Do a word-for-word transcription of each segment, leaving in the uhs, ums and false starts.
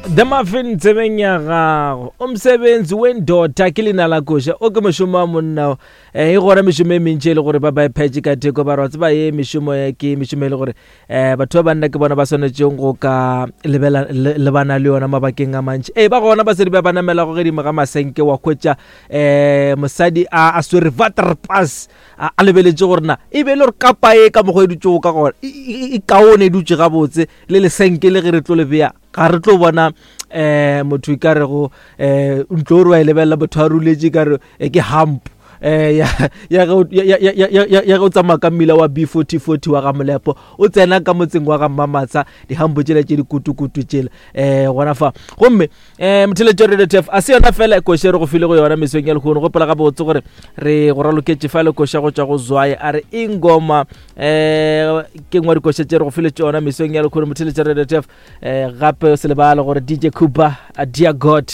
The Muffin tsebeng ya gago umsebenzi wendoda ke leina la koša o ke mošomo wa monna um e gona mešomo e mentši e le gore ba ba iphetše ka theko ba re wa tseba ye mešomo ye ke mešomo e le gore um batho ba banna ke bona ba swanetšeng go ka lebela le- lebana le yona mabakeng a mantši. Ee, ba gona basadi ba ba namelago godimo ga masenke, wa hwetša um mosadi a a swere waterpas, a a lebeletše gore na e be e le gore kapa e ka mokgwa e dutšego ka gona e- e e kaone, e dutše gabotse le lesenke le ge re tlo le bea ga re tlo bona um motho e ka rego um ntlo o re wa e lebelela motho a ruletše ka re eh, ke hump eh ya ya ge o- ya ya ya ya ya ya ge o tsamaya ka mmila wa B forty forty wa ga Molepo, o tsena ka motseng wa ga Mmamatsa, dihampo tšela tše dikutukutu tšela eh gona fa. Gomme eh motheletšo Radio T F a se yona fela koše re go file go yona mesong ya lehono. Gopola gabotse gore re go raloketše fa le koša go tšwa go Zwaye, a re ingoma eh ke nngwe ya dikoša tše re go file tšona mesong ya lehono, motheletšo Radio T F. eh gape se lebale gore D J Cooper a Dear God,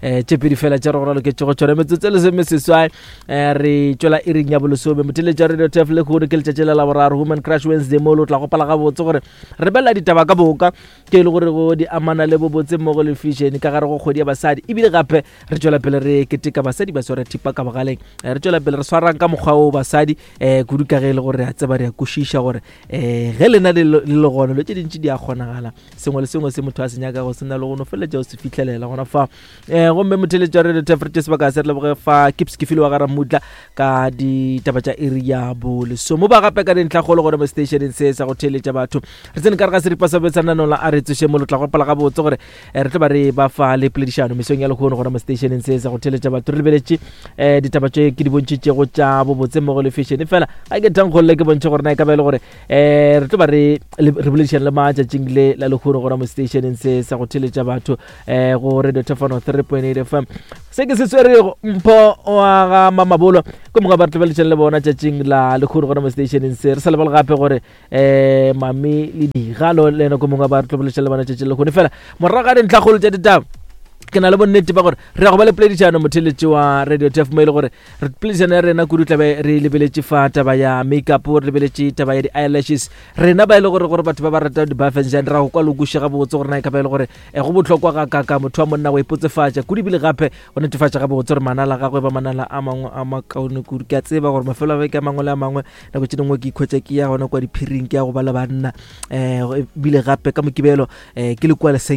eh tše pedi fela tše re go raloketše go tšona. Metsotso e lesome seswai eh re tšwela iring ya bolesome, motheletšo Radio T F. Lehono ke letšatši la Laboraro, Woman Crush Wednesday, mo o tla gopola gabotse gore re belela ditaba ka boka ke e le gore go di amana le bobotse mmogo le fashion ka gare go kgwedi ya basadi, ebile gape re tšwela pele re keteka basadi ba swara thipa ka bogaleng. Eh, re tšwela pele re swarang ka mokgwa o basadi um kudu ka ge e le gore re a tseba, re a kwešiša gore um ge lena le le le gona dilo tše dintši di a kgonagala, sengwe le sengwe se motho a se nyakago se na le go no feleletša o se fitlhelela gona fa. um gomme motheletši wa Radio T F, re tše sebaka se re leboge fa Kips ke file wa ga Ramutla ka ditaba tša iri ya bolesomo ba gape ka dintlhakgolo gona mo stationeng se sa go theeletša batho. Re tsene ka re ga seripa sa betsananong la a re tsoše mo, lo tla gopola gabotse gore eh, re tlo ba re ba fa le poledišano mesong ya lehono gona mo stationeng se sa go theeletša batho. Re lebeletše um ditaba tše ke di bontšhitšego tša bobotse mmogo le fashion, fela ga ke thankgolole ke bontšhe gore na e ka ba e le gore um re tlo ba re le- re boledišana le matšatšing le la lehono gona mo stationeng se sa go theeletša batho um go Radio Tefano three point eight F M. Se ke se swerego Mpho wa ga Mamabolo ke moka ba re tlobeletšeng le bona tšatšing la lehono gona mo stationeng se. Re sa lebale gape gore um mami le Digalo le ena ko mongwe ba re tlobeletšeng le bona tšatšing la lehono. Fela morago ga dintlhakgolo tša ditaba, ke na le bonnete ba gore re ya go ba le poledišano, motheletši wa Radio T F, mo e le gore re poledišano ya rena kudu tlabe re lebeletše fa taba ya makeup, re lebeletše taba ya di-eyelashes. Rena ba e le gore gore batho ba ba rata di-buffenjan ra go kwa lokuše gabotse gore na e ka ba e le gore eh, go bohlokwa ga kaka motho wa monna go ipotsefatša kudu, ebile gape go netefatša gabotse gore manala a gagwe ba manala a mangwe a makaone kudu. Ke a tseba gore mafelo a beke a mangwe le a mangwe nako tše dingwe ke ikhwetša ke ya gona kwa diphiring, ke ya go ba le banna, um ebile gape ka Mokibelo um ke le kua leseng.